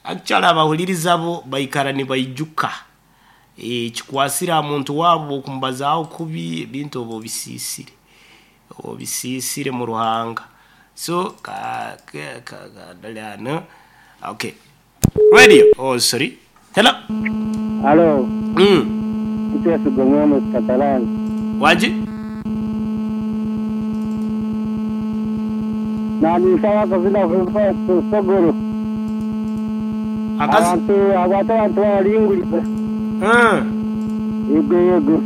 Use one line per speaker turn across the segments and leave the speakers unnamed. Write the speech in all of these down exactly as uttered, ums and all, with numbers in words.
Actually abahuliriza bo baikara nibaijuka. Eh, kikwasira muntu wabo okumubazaaho kubi ebintu oba obisiisire. Obisiisire mu Ruhanga. So ka ka ka ka no. Okay. Radio. Oh, sorry. Hello.
Halo,
Mm.
Kiteso Gomwemo Katalani.
Waji?
Nani sawa kazina kufa sogoro.
Akazi.
Abantu abantu abantu baringurira.
Mm.
Yego yego.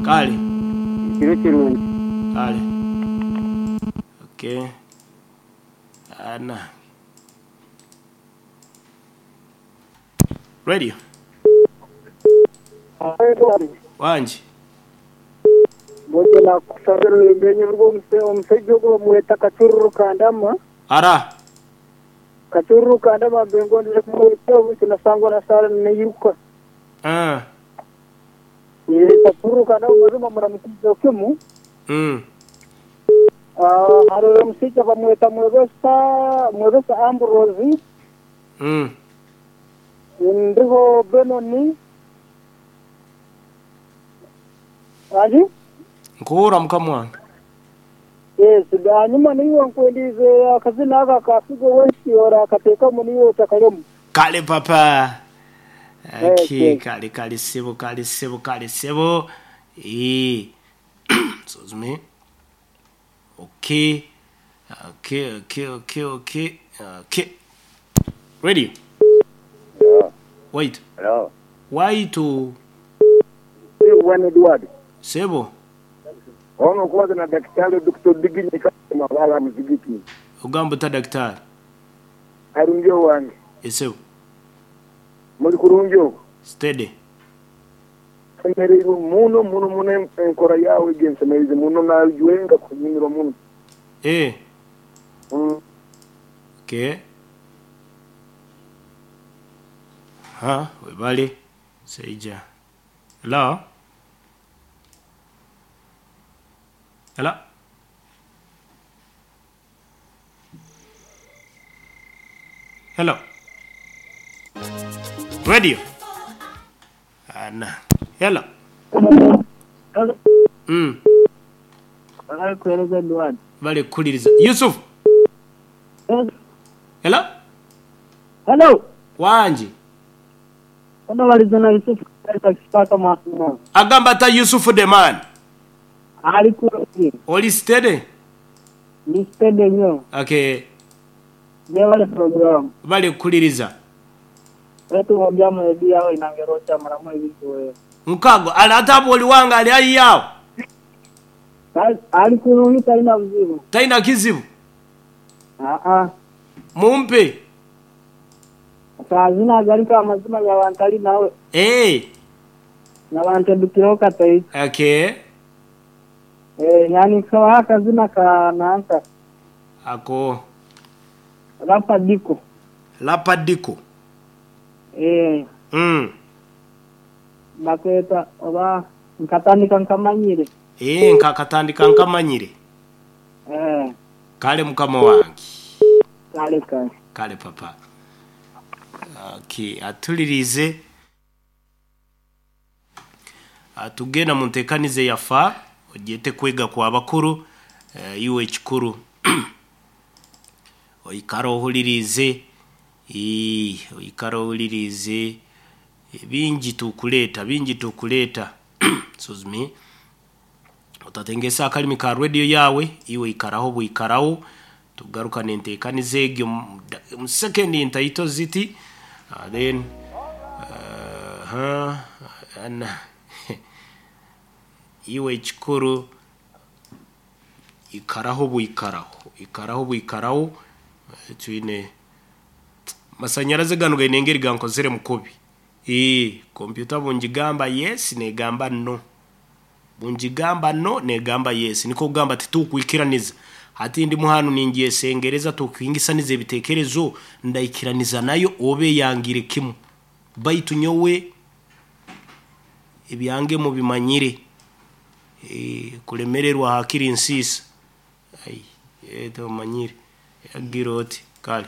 Kale.
Kiro kirungi.
Kale. Okay. Ana. Radio. Wanji.
Boje na kusabira imbenye rwo omusajja ogwo bamweta Kacururu Kandama.
Ara.
Kacururu Kandama mbengondere kumweta obuti nasangwa na sala neyiruka.
Ah.
Ye Kacururu Kandama mazima muramukiza kimu.
Mm.
Ah, haro omusajja bamweta Mwebesa Mwebesa Ambrose.
Mm.
Ndiho Benoni. Aji?
Nkuhura mukama wange.
Yes, hanyuma niyo nkwendize akazina aka kafigo wesi ora akateekamu niyo otakalemu.
Kale papa. Okay, kale kale sebo kale sebo kale sebo. Eh. Excuse me. Okay. Okay, okay, okay, okay. Okay. Ready?
Yeah.
Wait.
Hello.
Why to
One Edward.
Sebo.
Ono kubaza na daktari Doctor Diginyi kama wala muzigiti.
Ogamba ta daktari.
Arunjo wange.
Esebo.
Muri kurunjo.
Steady.
Semerero muno muno muno enkora yawe gensemereze muno najuenga kunyumira muno.
Eh.
Mm.
Okay. Ha, webale. Seija. Hello. Hello. Hello. Radio. Ana. Hello. Mm.
Kueleza Edward.
Bale kuliriza. Yusuf. Hello.
Hello.
Wanji.
Ono walizana Yusuf katika kisipaka masuma.
Agamba ta Yusuf the man.
Ali kurungi.
Oli steady?
Ni steady nyo.
Okay.
Jewale program.
Bale kuliriza.
Wetu wabyamu ebi yao inangerocha maramu ebintu wewe.
Mukago alatapo oliwanga ali ayi yao.
Ali kurungi taina buzibu.
Taina kizibu.
Ah ah.
Mumpe.
Kazina garika amazima ya wantali nawe.
Eh.
Na wante dukiroka tai.
Okay.
Eh, yani kwa kazina ka naanza.
Ako.
Lapa diko.
Lapa diko.
Eh.
Mm.
Bakweta oba nkatandika nkamanyire.
Eh, nkakatandika nkamanyire.
Eh.
Kale mukama wange.
Kale kale.
Kale papa. Okay, atulirize. Atugenda mu ntekanize yafa ojete kwega kwa bakuru e, iwe ekikuru oikara ohulirize ee oikara ohulirize bingi tukuleta bingi tukuleta excuse me otatengesa akalimi ka radio yawe iwe ikaraho buikaraho tugaruka nentekanize egyo mu second ntaito ziti uh, then uh, huh, ana iwe ekikuru ikaraho buikaraho ikaraho buikaraho twine masanyaraze gano gainengeri gankozere mukubi eh computer bunjigamba yes negamba no bunjigamba no negamba yes niko kugamba titukwikiraniza hati ndi muhanu ningiye sengereza tukwingisanize ebitekerezo ndaikiraniza nayo obe yangire kimu baitu nyowe ebyange mu bimanyire eh kulemererwa hakiri nsisa ai eto manyire yagiroti kale.